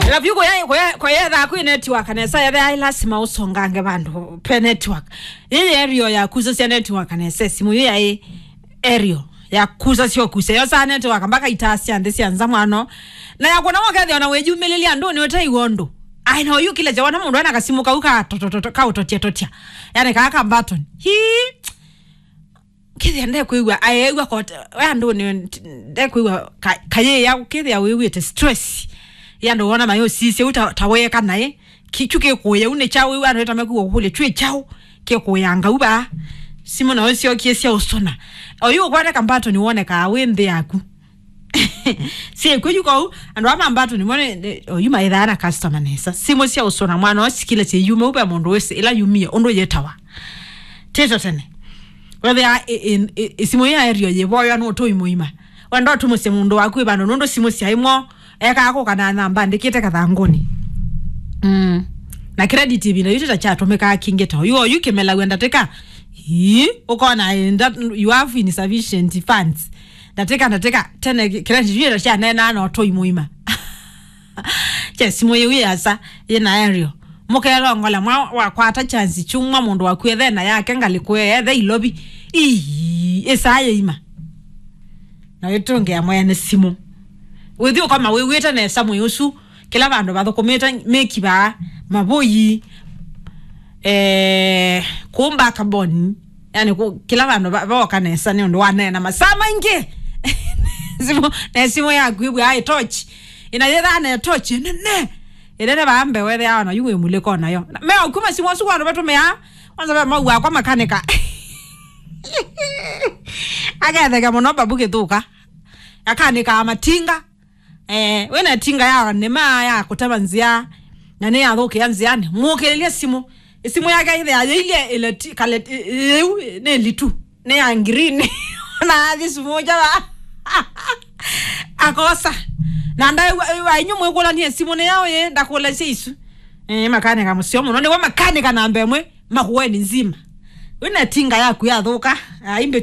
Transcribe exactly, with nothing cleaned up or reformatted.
Ĩla vyũ kũya, kũya, kũyethaa kwĩ network nesa, yethĩa ĩ lasima ũsongange vandũ pe network. Yĩyĩ aerial ya kusasya network nesa, simũ yu yaĩ aerial ya kusasya ũkuse. Yosaa network mpaka itaa sya nthĩ sya nza mwano. Na ya kuona wakethĩa ona wĩyumĩlĩlya andũ nĩ ũtaiwa ũndũ. Ai, na ũyũkĩlya kyawa na mũndũ ena kasimũ kau ka to-, to-, to-, to-, ka ũtotya totya. Yani kaa ka button. Hii. Kĩthĩa ndekwĩw'a aeew'a kote we andũnĩ, ndekwĩw'a ka-, kayĩya kĩthĩa wĩw'ĩte stress ya andũ wona mayũsisye u ta, ta weeka naĩ. Kĩkyu kĩkũya u nĩ kyaũ? Wĩw'a andũ ĩtame kwĩw'a kũkũlya kyũ kyaũ kĩkũyanga u vaa. Simũ nayo syokie sya ũsũna. Oyu ũkwate kambato nĩwonekaa wĩ nthĩ yaku. Syĩkw'e yu kau, andũ aa mambato nĩmo nĩ, nĩ, oyu maĩthaa na customer nesa. Simũ sya ũsũna mwana ũsikile syĩyume u ve mũndũ wĩsĩ ĩla yumie ũndũ yĩtawa. Tĩto tene. Wethĩa ĩ-, ĩ-, ĩ-, ĩsimũ ya aerial yĩvoywa nũtũi mũima. Wenda ũtumũsye mũndũ waku ĩvano nũndũ simũ sya ĩmwe ekaa kũka na namba andĩkĩte kathangũnĩ. Mm. Na credit ĩvinda yu tĩta kyatũmĩkaa kingĩ ta oyu. Oyu kĩmelaw'a ndatĩka. Ii, ũkona enda, you have insufficient funds. Ndatĩka, ndatĩka, tene credit yu tĩta kyaneenaa na ũtũi mũima. Kye simũ yĩu yĩasa, yĩna aerial. Mũkelongola mwa wakwata chance kyumwa mũndũ waku ethe na yake ngalĩko ethe ilovi. Ii, ĩsaa yĩima. Na wĩtũngĩa mwene simũ. Wĩthi ũkoma wĩw'ĩte nesa mwĩ ũsu, kĩla vandũ vathũkũmĩte mĩkivaa, mavũi, eh, kũmba kaboni. Yani, kũ-, kĩla vandũ va-, vooka nesa nĩ ũndũ wa neena masaa maingĩ. Simũ, na simũ yaku ĩvw'aa ĩtochi. Ĩna yĩthaa na ĩtochi nene. Ĩnene vaa mbee wethĩawa na yu wĩ mũlĩko nayo. Na, me ũkuma simũ ũsu kwa andũ vatũmĩaa, kwanza ve mau wakwa makanika. Aketheke mũno babu kĩthũka. Akanĩkaa matinga. Eh, wĩna tinga ya nĩma ya kũtema nzĩa, na nĩ yathũkĩa nzĩanĩ. Mũkĩlĩlye simũ. Simũ yake ĩthĩa yĩilye ĩleti-, kaleti-, ĩ-, ĩu nĩ litu. Nĩ ya green. Na athi simũ nja wa. Akosa. Na ndaĩ wa, wa inyu mwĩkũlanie simũ nĩ yaũ yĩ, ndakũlasya isu. Eh, makanika mũseo mũno. Nĩwe makanika namba ĩmwe. Makueni nzima. Wĩna tinga yaku yathũka, ah, imbĩtu